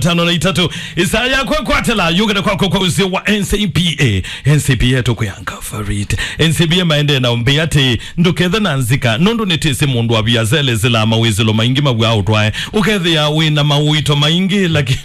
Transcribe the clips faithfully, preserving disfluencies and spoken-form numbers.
tano na itatu. Isaa yakwa kwatela yũkĩte kwakwa kwa ũsĩ wa N C B A. N C B A tũkwĩanga favorite. N C B A maendee na ũmbĩ atĩ ndũkethe na nzika, nũndũ nĩtĩsĩ mũndũ wa viasele zĩlaa mawĩsĩlo maingĩ maw'a ũtwae. Ũkethĩa wĩ na mawĩto maingĩ, lakini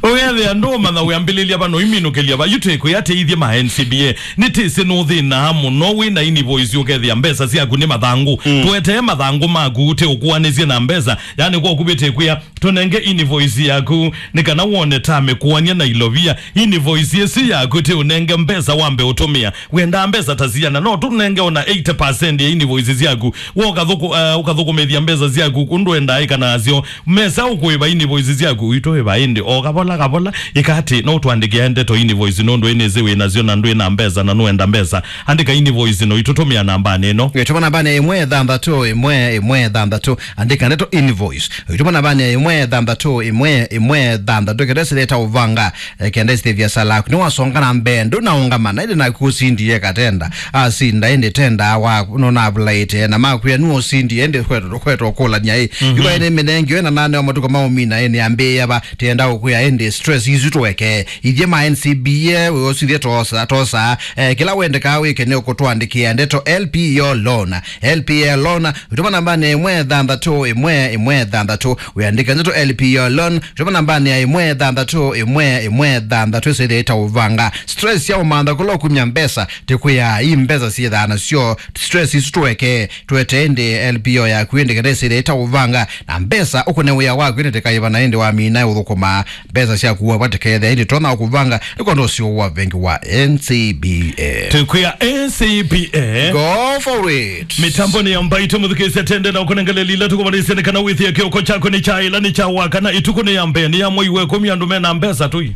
ũkethĩa ndũũmanya wĩambĩlĩlya va noiminũkĩlya va. Yu twĩkwĩa atĩ ithyĩ ma N C B A nĩtĩsĩ nũthĩnaa mũno wĩ na invoice, ũkethĩa mbesa syaku nĩ mathangũ. Mm. Tũetee mathangũ maku, tĩũkũanĩsye na mbesa. Yani, kwa kuvĩtĩkwĩa, tũnenge invoice yaku, nĩ kana wone ta mĩkũanĩa na ilovia. Invoice ĩsu yaku tĩũnenge mbesa wambe ũtũmĩa. Wendaa mbesa ta siana, no tũnenge ona eighty percent ya invoice syaku. Wo ũkathũkũ-, eh, ũkathũkũmĩthya mbesa syaku kũndũ wendaa ĩka nasyo. Mesa ũkũĩva invoice syaku, itũĩva ĩndĩ o kavola kavola. Ĩka atĩ, no ũtũandĩkĩe ndeto invoice, nũndũ ĩnĩsĩ wĩ nasyo na ndwĩ na mbesa na nũenda mbesa. Andĩka invoice no itũtũmĩa nambanĩ ĩno. Ĩtũma nambanĩ ĩmwe thanthatũ ĩmwe ĩmwe thanthatũ. Andĩka ndeto invoice. Ĩtũma nambanĩ ĩmwe thanthatũ ĩmwe ĩmwe thanthatũ. Kenda sĩleta ũvanga, eh, kenda sĩlĩthya sala yaku. Nĩwasonga na mbee, ndũnaũngama, na ĩndĩ naku ũsindie katenda. Asinda, ĩndĩ tenda wa, nũnavulaĩte, na makwĩa nũũ ũsindie, ĩndĩ kwetwa, kwetwa kũlany'a ĩ. Mhm. Ĩva ĩnĩ mĩnengi, ĩna nane wa matukũ ma ũmina, ĩnĩ ambĩĩa va, tenda ũkwĩa, ĩndĩ stress isu tũweke. Ithyĩ ma N C B A, wĩosithye tosa, tosa. Eh, kĩla wendekaa wĩke nĩ ũkũtũandĩkĩa ndeto L P O loan. L P O loan, ũtũma nambanĩ ĩmwe thanthatũ ĩmwe ĩmwe thanthatũ. Wĩandĩke ndeto L P O loan, ũtũma nambanĩ ya ĩmwe thanthatũ ĩmwe ĩmwe thanthatũ. Ĩsĩthĩa ĩtaũvanga. Stress ya ũmantha kũla ũkumya mbesa, tĩkwĩa ii mbesa syĩthaa nasyo. Stress isu tũweke, tũete ĩndĩ L P O yaku ĩndĩ kenda ĩsĩthĩa ĩtaũvanga. Na mbesa ũkũne wĩa waku ĩndĩ tĩkaĩva na ĩndĩ wamina ũthũkũma. Mbesa syaku wavatĩkethya ĩndĩ tonya ũkũvanga nĩkwenda ũsio wa vengi wa N C B A. Tĩkwĩa N C B A. Go for it. Mĩtambonĩ ya mbaitũ mũthukĩĩsya tende na ũkũnengeleli ila tũkũmanyĩsya nĩ kana wĩthĩe kĩoko kyaku nĩ kya ĩla nĩ kya wakana ĩtukũ nĩ ya mbee nĩ ya mwei wa ĩkũmi andũ mena mbesa tũi.